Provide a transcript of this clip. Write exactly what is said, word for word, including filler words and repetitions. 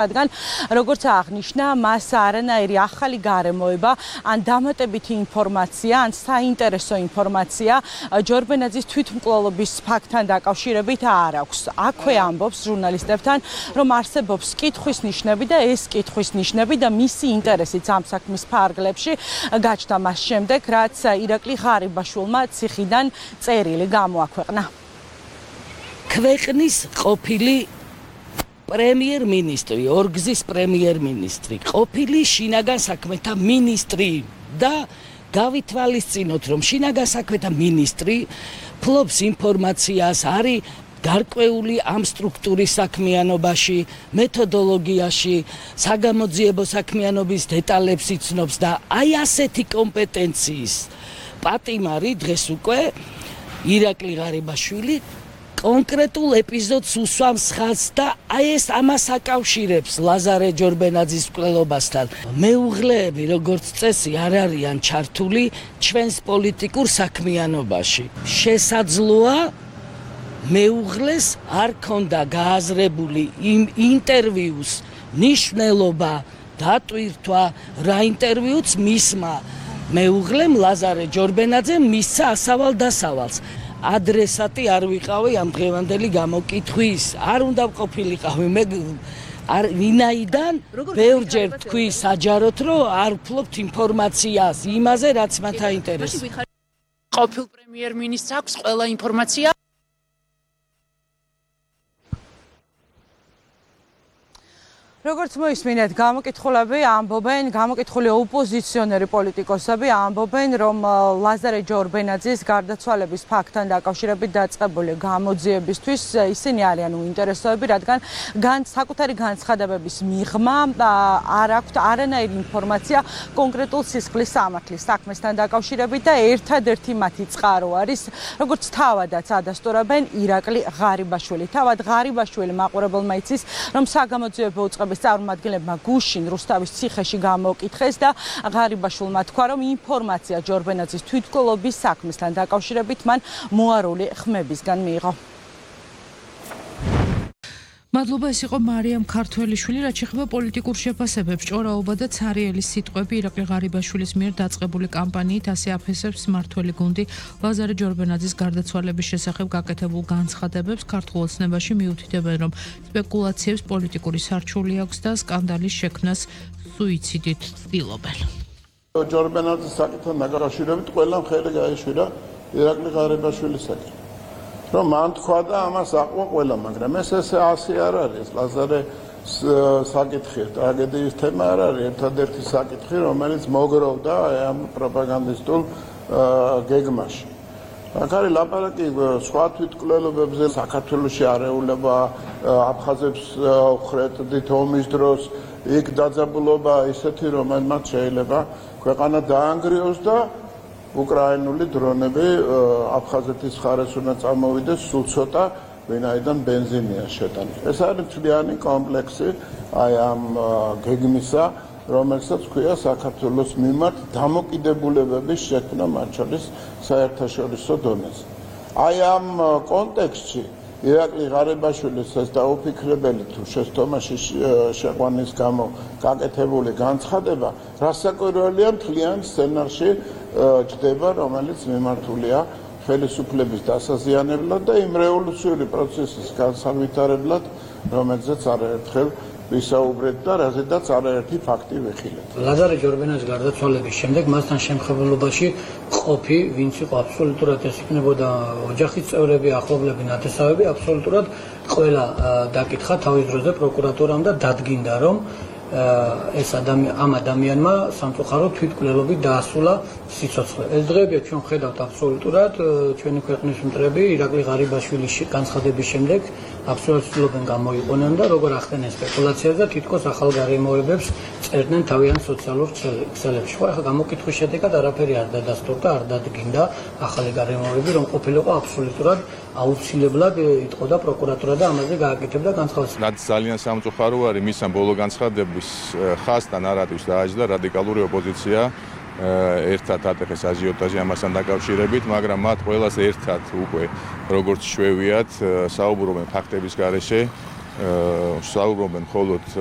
რადგან როგორც აღნიშნა, მას არანაირი ახალი გარემოება ან დამატებითი ინფორმაცია, ან საინტერესო ინფორმაცია ჯორბენაძის თვითმკვლელობის ფაქტთან დაკავშირებით არ აქვს. აქვე ამბობს ჟურნალისტებთან, რომ არსებობს კითხვის ნიშნები და ეს კითხვის ნიშნები და მისი ინტერესიც ამ საქმის ფარგლებში გაჩნდა მას შემდეგ, რაც ირაკლი ღარიბაშვილმა ციხიდან წერილი გამოაქვეყნა. ქვეყნის ყოფილი პრემიერ-მინისტრი, ორგზის პრემიერ-მინისტრი, ყოფილი შინაგან საქმეთა მინისტრი და გავითვალისწინოთ, რომ შინაგან საქმეთა მინისტრი ფლობს ინფორმაციას, არის გარკვეული ამ სტრუქტურის საქმიანობაში, მეთოდოლოგიაში, საგამოძიებო საქმიანობის დეტალებს იცნობს და აი ასეთი კომპეტენციის პატიმარი დღეს უკვე ირაკლი ღარიბაშვილი კონკრეტულ ეპიზოდს უსვამს ხაზს და აი ეს ამას აკავშირებს ლაზარე ჯორბენაძის მკვლელობასთან. მეუღლეები, როგორც წესი, არ არიან ჩართული ჩვენს პოლიტიკურ საქმიანობაში. შესაძლოა მეუღლეს არ ქონდა გააზრებული იმ ინტერვიუს ნიშნულობა, დატვირთვა, რა ინტერვიუც მისმა მეუღლემ ლაზარე ჯორბენაძემ მისცა ასავალ დასავალს. ადრესატი არ ვიყავი ამ დღევანდელი გამოკითხვის, არ უნდა ყოფილიყავი მე არ ვინაიდან ბევრჯერ თქვი საჯაროდ, რომ არ ვფლობთ ინფორმაციას იმაზე, რაც მათ აინტერესებს. ყოფილ პრემიერ-მინისტრს აქვს ყველა ინფორმაცია. როგორც მოისმინეთ, გამოკითხულები ამბობენ, გამოკითხული ოპოზიციონერი პოლიტიკოსები ამბობენ, რომ ლაზარე ჯორბენაძის გარდაცვალების ფაქტთან დაკავშირებით დაწყებული გამოძიებისთვის ისინი არიან უინტერესოები, რადგან საკუთარი განცხადებების მიღმა არ აქვთ არანაირი ინფორმაცია კონკრეტულ სისხლის სამართლის საქმესთან დაკავშირებით და ერთადერთი მათი წყარო არის, როგორც თავადაც ადასტურებენ, ირაკლი ღარიბაშვილი. თავად ღარიბაშვილი მაყურებელმა იცის, რომ საგამოძიებო უწყება წარმომადგენლებმა გუშინ რუსთავის ციხეში გამოკითხეს და ღარიბაშვილმა თქვა, რომ ინფორმაცია ჯორბენაძის თვითმკვლელობის საქმესთან დაკავშირებით მან მოარული ხმებისგან მიიღო. მადლობა, ეს იყო მარიამ ქართველიშვილი, რაც შეეხება პოლიტიკურ შეფასებებს. ჭორაობა და ცარიელის სიტყვები ირაკლი ღარიბაშვილის მიერ დაწყებული კამპანიით ასე აფესებს მმართველი გუნდი ლაზარე ჯორბენაძის გარდაცვალების შესახებ გაკეთებულ განცხადებებს. ქართულ ოცნებაში მიუთითებენ, რომ სპეკულაციებს პოლიტიკური სარჩული აქვს და სკანდალის შექმნას სუიციდით ცდილობენ. ჯორბენაძის საკითხთან დაკავშირებით ყველამ ხელი გაეშვირა ირაკლი ღარიბაშვილისაკენ. რომ მან თქვა და ამას აყვა ყველა, მაგრამ ეს ესე ასე არ არის. ლაზარე საკითხი, ტრაგედიის თემა არ არის ერთადერთი საკითხი, რომელიც მოგროვდა ამ პროპაგანდისტულ გეგმაში. აქ არის ლაპარაკი სხვა თვითმკვლელობებზე, საქართველოში არეულობა, აფხაზებს ხრეთდით ომის დროს, იქ დაძაბულობა ისეთი, რომელმაც შეიძლება ქვეყანა დაანგრიოს და უკრაინული დრონები აფხაზეთის მხარეს უნდა წამოვიდეს სულ ცოტა, ვინაიდან ბენზინია შეტანილი. ეს არის მთლიანი კომპლექსი აი ამ გეგმისა, რომელსაც ქვია საქართველოს მიმართ დამოკიდებულებების შექმნა, მათ შორის საერთაშორისო დონეზე. აი ამ კონტექსტში ირაკლი ღარიბაშვილის ეს დაუფიქრებელი თუ შეცდომაში შეყვანის გამო გაკეთებული განცხადება რასაკვირველია მთლიან სცენარში ჯდება, რომელიც მიმართულია ხელისუფლების დასაზიანებლად და იმ რევოლუციური პროცესის განსავითარებლად, რომელზეც არაერთხელ ვისაუბრეთ და რაზედაც არაერთი ფაქტი ვიხილეთ. ლაზარე ჯორბენაძის გარდაცვალების შემდეგ მასთან შემხებელობაში ყოფი, ვინც იყო აბსოლუტურად ეს იქნებოდა ოჯახის წევრები, ახლობლები, ნათესავები, აბსოლუტურად ყველა დაკითხა თავის დროზე პროკურატურამ და დადგინდა, რომ ეს ამ ადამიანმა სამწუხაროდ თვითმკვლელობით დაასრულა სიცოცხლე. ეს დღეები ჩვენ ხედავთ აბსოლუტურად ჩვენი ქვეყნის მტრები ირაკლი ღარიბაშვილის განცხადების შემდეგ აბსოლუტურად ცდილობენ გამოიყენონ და როგორ ახდენენ სპეკულაციას და თითქოს ახალ გარემოებებს წერდნენ თავიანთ სოციალურ ქსელებში. ხო, ახლა გამოკითხვის შედეგად არაფერი არ დადასტურდა, არ დადგინდა ახალი გარემოებები, რომ ყოფილიყო აბსოლუტურად აუცილებლად იტყოდა პროკურატურა და ამაზე გააკეთებდა განცხადებას. რაც ძალიან სამწუხარო არის, მის ამ ბოლო განცხადების ხაზთა ნარატივს დააჯდა რადიკალური ოპოზიცია ერთად ატეხეს აჟიოტაჟი ამასთან დაკავშირებით, მაგრამ მათ ყველას ერთად უკვე როგორც შვევიათ საუბრობენ ფაქტების გარეშე საუბრობენ მხოლოდ